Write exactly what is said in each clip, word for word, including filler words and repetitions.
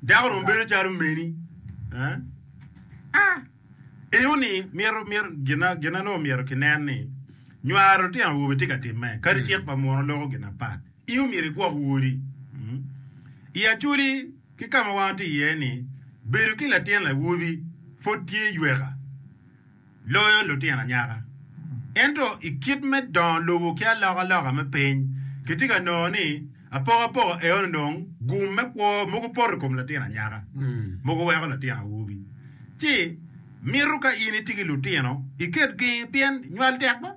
Dako dong bedo calo meni. Eh? Ah! Eno ni myero myero gina gina nongo myero kinen ni nywaro lutino awobe tye ka timme kadi cik pa muno loko gin apat. In omyero igwok wodi. Mm. I Acholi ki ka ma wan watye iye ni bedo ki latin awobi pud tye yweka loyo lutino anyaka. Ento i kit me dongo lobo ki alokaloka me piny, kitye ka nongo ni apokapoka eno dong gum me kwo mogo poto i kom latin anyaka, mogo weko latin awobi. Ci mito ka in itye ki lutino iketgi pien nywal tek ba?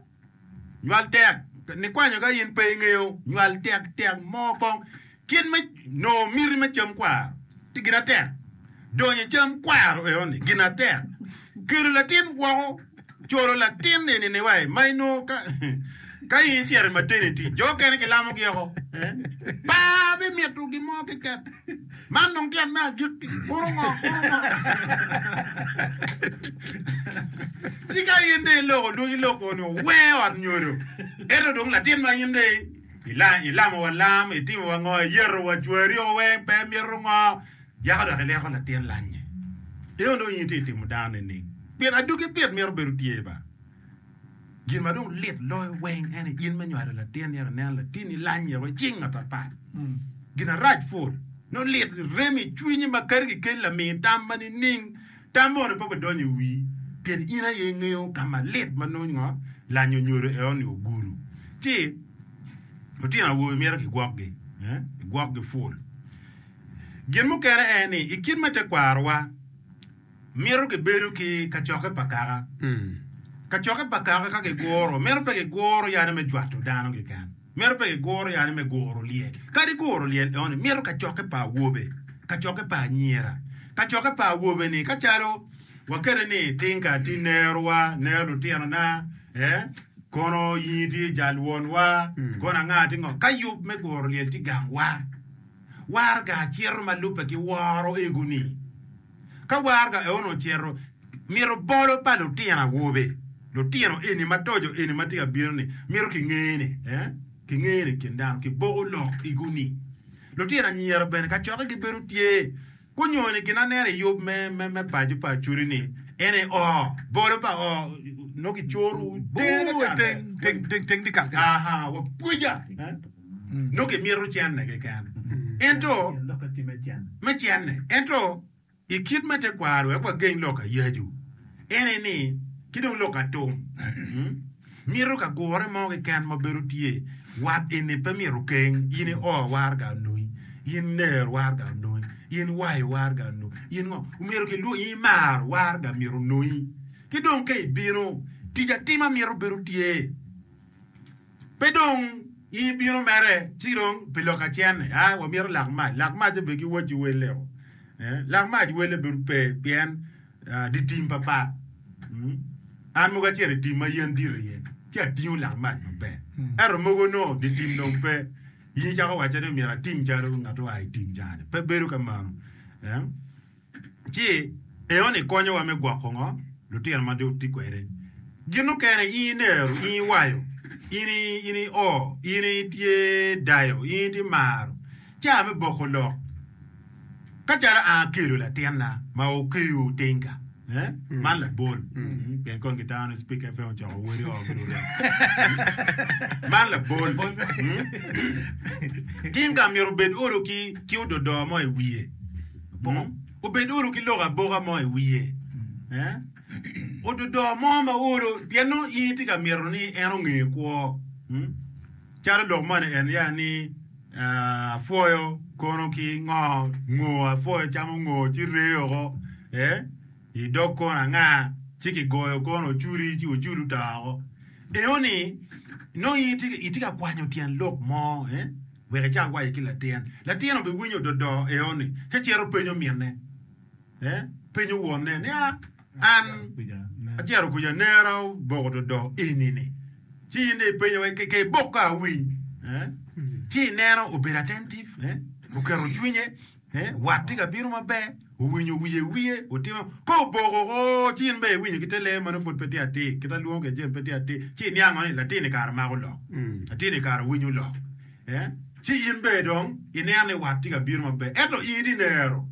Nywal tek nikwanyo ka in pe ingeyo nywal tek tek mo kong kit me nongo miti me cam kwaro tye gin atek donyo i cam kwaro eno ni gin atek kelo latin woko colo latin eni ni wai ma inongo ka ka in icito i maternity jo okene kilamo gi oko eh? Pa bimito gin mo keken man dong tyen me agikki kunu ngo kunu ngo ci ka in dong iloko dwogi loko ni owee ot nyodo ento dong latin ma in dong ila- ilamo wa lam itimo wa ngo iyeto wa cwari o weng pe mito ngo yako dok ileko latin lanye eno dong in itye timo dano nining pien adwogi pit mito bedo tye ba gin ma dong lit loyo weng ene in me nywalo latin yako ineno latinni lanye woko icing ngat apat gin arac pul no lit rem i cwinyi ma kadi kikeli lami tam ma nining tam moni pe obidonyo i wii pien in aye ingeyo ka ma lit ma nongo ngo lanyo nyodo eno ni ogudo ci lutino awobe myero gigwokgi eh? gigwokgi ful gin mukene en ni i kit me tekwarowa mito gibedo ki kacokke pa kaka kacokke pa kaka ka giguro mito pe giguro yani me jwato dano keken mito pe giguro yani me guro lyel kadi guro lyel eno ni mito kacokke pa awobe kacokke pa anyira kacokke pa awobe ni ka calo wakete ni tinka ti nerowa nero lutinona eh? kono in tye jal wonwa kono anga ti ngo ka yub me guro lyel ti gangwa warga cito ma lubbe ki woro ego-ni ka warga eno ocito mito bolo pa lutino awobe lutino eni ma tojo eni ma tye ka bino ni mito kingene eh? kingene i kin dano kiboko lok ego-ni lutino anyira bene kacokke gibedo tye kunyoni gin aneno i yub me, me, me paco pa Acholi ni en aye o bolo pa o no kicoro Bur teng teng teng teng dikal kene. aha wapwica eh? no kimito cene keken ento me cene ento i kit me tekwaro wek wageng lok ayacu en aye ni ki dong lok atum mm? mito ka gure mo keken ma bedo tye wat eni pe mito keng in i o warga onongi in ner warga onongi in wayo warga onongi in ngo omyero kilwongi in imaro warga myero onongi ki dong ka ibino tic atima mito bedo tye pe dong in ibino mere ci dong pi lok acene a wamito lak mac lak mac be giwacci wele o eh, lak mac wele bedo pe pien uh, di tim papat mm. An mogo acito i tim ma yen dit iye ci atingo lak mac maber ento mogo no di tim dong pe in icako waco ni myero ating calo ngat oa i tim cani pe bedo kamano eh? Ci eno-ni konyowa me gwoko ngo lutino ma dong tye kwede gin mukene in inero in iwayo in in i o in itye dayo in itye maro ca me boko lok ka calo an akelo latinna ma okeyo tinga eh? Man labol Mm, pien kon gitamo ni Speak F M ocoko wodi o ki lurem man labol Mm. Tinga myero obed olo ki ki ododo mo i wiye Mm. Obed olo ki lok aboka mo i wiye Eh? Ododo mo ma olo pien nongo in itye ka mito ni en onge kwo Mm. Calo lok moni en ya ni ah, apwoyo kono ki ngo ngo apwoyo camo ngo ci ree oko eh? I dog kono anga ci kigoyo kono oculi ci oculi oto oko eno ni nongo in itye itye ka kwanyo tyen lok mo eh? Wek icak waco ki latin latin obiwinyo ododo eno ni ci cito penyo minne eh? Penyo wonne ni ah, an acito kuca nera oboko dodo eni ni ci in dong ipenyo wa ke ibok ka awiny eh? Ci ineno obedo attentive eh? Oketo cwinye eh? Wat tye ka bino maber owinyo wiye wiye otimo ka oboko o ci in bene iwinyo ki te ler ma nongo pud pe tye atir kit alwongo kwede jami pe tye atir ci iniango ni latin-ni kare mako lok latin-ni kare winyo lok eh? Ci in bene dong ineno ni wat tye ka bino maber ento in itye nero